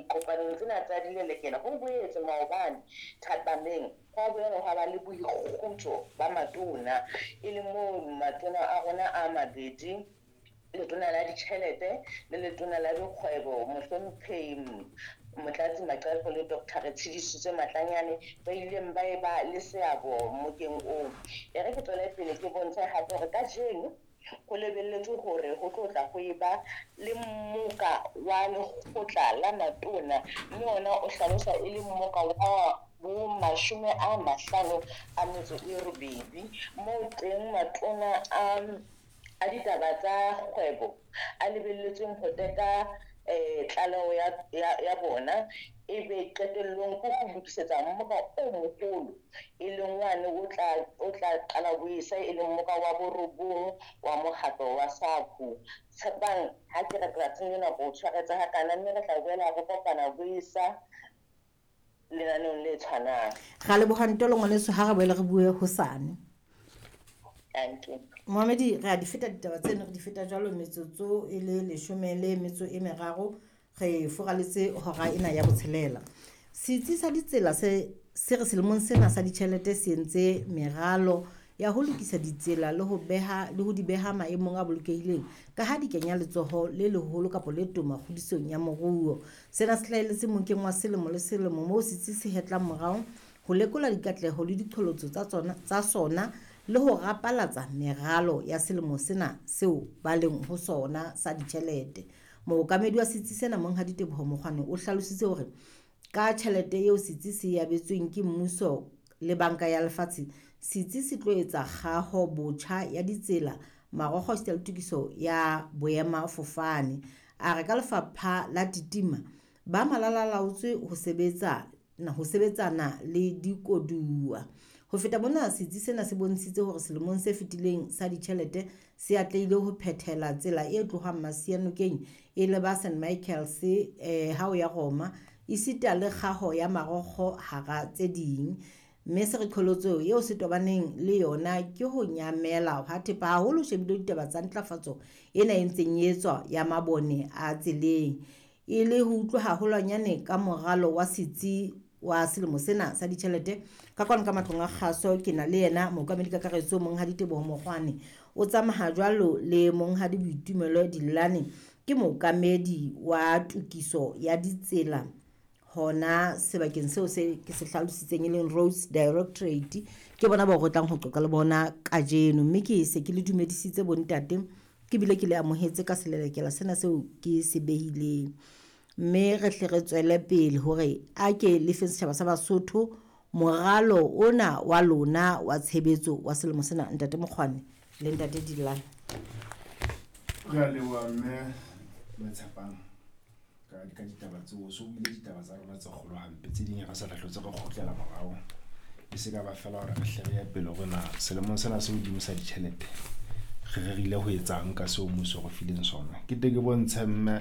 Dikopanong tsena tsa dilelekela ho boetse maobane thapameng hwa boela hwa ba le boikgutso ba matona, e leng moo matona a rona a mabedi, letona la ditjhelete le letona la dikgwebo, Mohlomphehi Motlatsi Maqepo le Dr. Retshidisitswe Matlanyane, ba ileng ba eba le seabo mokeng oo. E re ke tswele pele ke bontshe hape hore kajeno ho lebelletswe hore ho tlo tla ho eba le mmoka wa lekgotla la matona, mme ona o hlaloswa e le mmoka wa bo 58, moo teng matona a ditaba tsa kgwebo a lebelletsweng ho teka tlaleho ya bona, ebe qetellong ke ho lokisetsa mmoka o moholo, e leng wane o tla qala boesa, e leng mmoka wa borobong wa mokgatlo wa SACU. Tshepang ha ke re tsatsing lena ko tshwaretse hakana, mme re tla boela re kopana boesa lenaneong le tshwanang. Ra leboha Ntolo ngwaneso, ha re boele re bue hosane. Mohamedi, re a di feta ditaba tseno, re di feta jwalo metsotso e le 13, re furaletse hora ena ya botshelela. Setsi sa ditsela se re selemong sena sa ditjhelete se entse meralo ya ho lokisa ditsela le ho beha le ho di beha maemong a bolokehileng, ka ha di kenya letsoho le leholo kapa le toma kgodisong ya moruo. Sena se hlahelletse mokeng wa selemo le selemo moo setsi se hetlang morao ho lekola dikatleho le diqholotso tsa sona le ho rapalatsa meralo ya selemo sena seo ba leng ho sona sa ditjhelete. Mookamedi wa setsi sena, Monghadi Teboho Mokgwane, o hlalositse hore ka tjhelete eo setsi se abetsweng ke mmuso le banka ya lefatshe, setsi se tlo etsa kgaho botjha ya ditsela, marokgo esita le tokiso ya boemafofane. A re ka lefapha la Titima ba malalalaotswe ho sebetsana le dikoduwa. Ho feta mona, setsi sena se bontshitse hore selemong se fetileng sa ditjhelete se atlehile ho phethela tsela e tlohang Masianokeng e leba St Michaels ha o ya Roma, esita le kgaho ya marokgo hara tse ding. Mme se re qholotso eo se tobaneng le yona ke ho nyamela hwa thepa, haholo shebile ditaba tsa ntlafatso ena e ntseng e etswa ya mabone a tseleng. E le ho utlwa haholwanyane ka moralo wa setsi wa selemo sena sa ditjhelete, ka kwano ka matlong a kgaso ke na le yena mookamedi kakaretso Monghadi Teboho Mokgwane. O tsamaya jwalo le Monghadi Boitumelo Dillane, ke mookamedi wa tokiso ya ditsela hona sebakeng seo se ke se hlalositseng e leng Roads Directorate. Ke bona bao re tlang ho qoqa le bona kajeno, mme ke se ke le dumedisitse bontate, ke bile ke le amohetse ka selelekela sena seo ke se behileng. Mme re hle re tswele pele hore a ke le fe setjhaba sa Basotho moralo ona wa lona wa tshebetso wa selemo sena, Ntate Mokgwane le Ntate Dillane. Re a leboha mme Tshepang ka ditaba tseo. So buile ditaba tsa rona tse kgolo hampe, tse ding re sa hlotse re kgutlela morao. E se ka ba fela hore re hle re ye pele hore na selemong sena se hodimo sa ditjhelete re rerile ho etsang ka seo mmuso o re fileng sona. Ke tle ke bontshe mme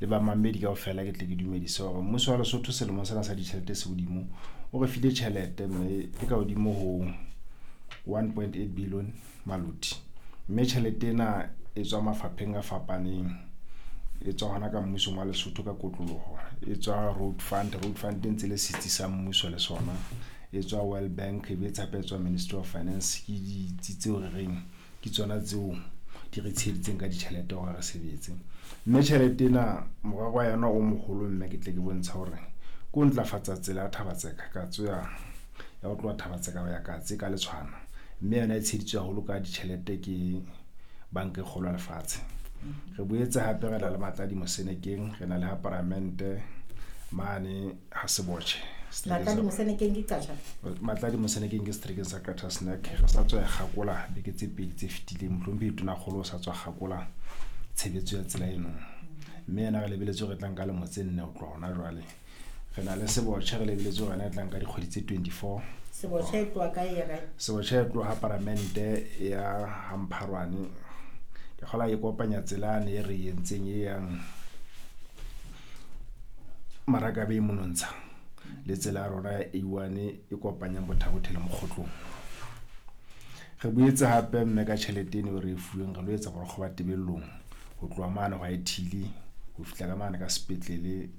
le bamamedi kaofela, ke tle ke dumedise hore mmuso wa Lesotho selemong sena sa ditjhelete se hodimo o re file tjhelete mme e ka hodimo ho 1.8 billion maloti. Mme tjhelete ena e tswa mafapheng a fapaneng, e tswa hona ka mmusong wa Lesotho ka kotloloho, e tswa Road Fund, Road Fund e ntse le setsi sa mmuso le sona, e tswa World Bank, e be hape e tswa Ministry of Finance. Ke ditsi tseo re reng ke tsona tseo di re tsheheditseng ka ditjhelete hore re sebetse. Mme tjhelete ena morero wa yona o moholo, mme ke tle ke bontsha hore ke ho ntlafatsa tsela ya Thabatseka Katse ya ho tloha Thabatseka ho ya Katse ka Letshwana. Mme yona e tsheheditswe haholo ka ditjhelete ke banka e kgolo ya lefatshe. Re boetse hape re na le Matladi Mosenekeng, re na le ha Paramente mane ha Sebotjhe. Matladi Mosenekeng ke Qacha? Matladi Mosenekeng ke seterekeng sa Qacha Snack. Re sa tswa e kgakola beke tse pedi tse fetileng, mohlomphehi Tonakgolo o sa tswa kgakola tshebetso ya tsela eno. Mme yena re lebeletse hore e tla nka lemo tse 4 ho tloha hona jwale. Re na le Sebotjhe, re lebeletse hore yona e tla nka dikgwedi tse 24. Sebotjhe e tloha kae ya kae? Sebotjhe e tloha Paramente ya Hampharwane. Ke kgola e kopanya tsela yane e re entseng e yang Marakabe monontsha le tsela ya rona ya A1 e kopanyang Bothabothe le Mokgotlong. Re boetse hape mme ka tjhelete eno re e fuweng re lo etsa borokgo ba Tebellong ho tloha mane ho Ithili ho fihla ka mane ka sepetlele